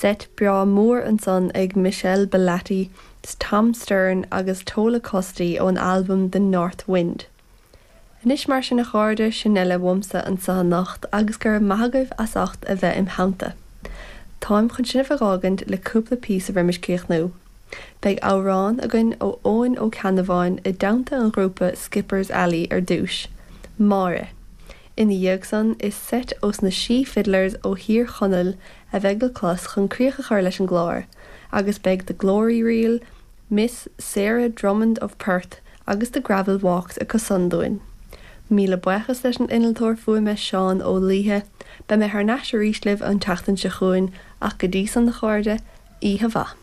Seit breá mór ansan ag Michele Bellati, Tom Stern agus Tola Costi ón albam The North Wind. Anois mar sin a chairde, sin uile uaimse anso anocht agus go raibh maith agaibh as ucht a bheith im theannta. Táim chun sibh a dh'fhágaint le cúpla píosa roimis críochnú. Beidh amhrán againn ó Eoin Ó Ceannabháin i dteannta an ghrúpa Skipper's Alley ar dtúis, Máire. Ina dhiaidh san, is seit ós na Sí Fiddlers ó Thír Chonaill a bheidh le clos chun críoch a chur leis an gclár, agus beidh The Glory Reel, Miss Sarah Drummond of Perth agus The Gravel Walks acu san dúinn. Míle buíochas leis an innealtóir fuaime Seán Ó Laoithe. Beidh mé thar n-ais arís libh an tseachtain seo chugainn ach go dtí san a chairde, oíche mhaith.